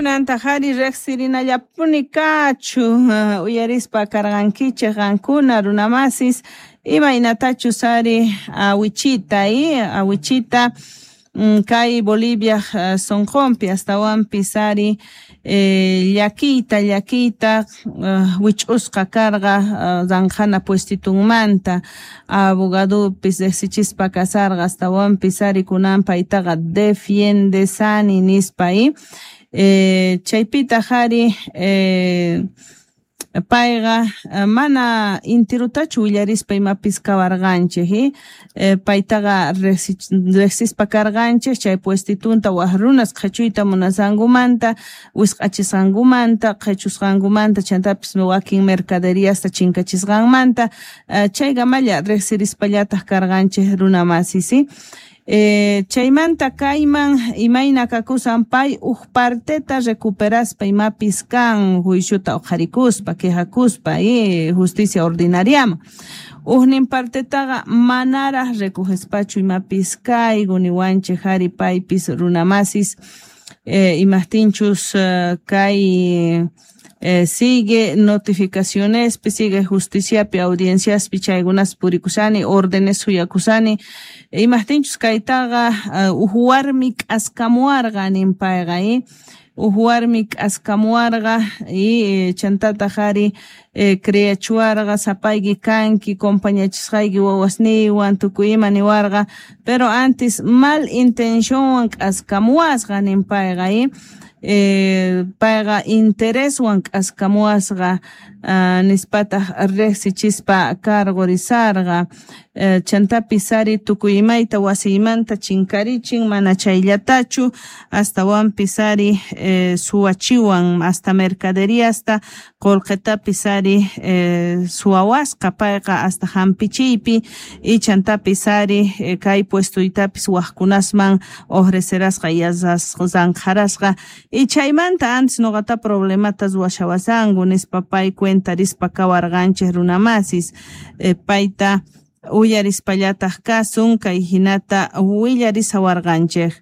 Kunantaj ari rejsirinallapuni kachu uyarispa karqankichej qankuna runamasis imaynatachus ari awichita awichita kay Boliviaj sonqonpi astawanpis ari llakiyta llakiyta wich'usqa karqa ranqhana puestitunmanta abogadopis rejsichispa kasarqa astawanpis ari kunan paytaqa defiendesani nispa chaypitaj ari payqa mana intirutachu willarispa imapis kawarqanchej paytaqa rejsispa karqanchej chay puestitunta waj runas qhechuyta munasqankumanta wisq'achisqankumanta qhechusqankumanta chantapis wakin mercaderiasta chinkachisqanmanta chaykamalla rejsirispallataj karqanchej runa masis. Chaymanta kayman imayna kakusan pay uj parteta recuperaspa imapis kan juiciota uqharikuspa quejakuspa justicia ordinariaman ujnin partetaqa manaraj recogespachu imapis kayku niwanchej ari paypis runamasis imajtinchus kay sigue notificacionespi sigue justiciapi audienciaspi chaykunas purikusani órdenes suyakusani imajtinchus kaytaqa uj warmi k'askamuwarqa nin payqa uj warmi k'askamuwarqa y chantataj ari creachuwarqa sapayki kanki compañachisqayki wawasniywan tukuy ima niwarqa pero antes mal intencionwan k'askamuwasqa nin payqa payqa intereswan k'askamuwasqa nispataj rejsichispa cargorizarqa chantapis ari tukuy imayta wasiymanta chinkarichin mana chayllatachu astawanpis ari suwachiwan hasta mercaderiasta qolqetapis ari suwawasqa payqa hasta hampichiypi y chantapis ari kay puestuytapis wajkunasman ofrecerasqa zanjarasqa y chaymanta antes noqata problemata ruwashawasanku nispa pay cuentarispa kawarqanchej runamasis payta uyarispallataj kasun kay hinata willarisawarqanchej.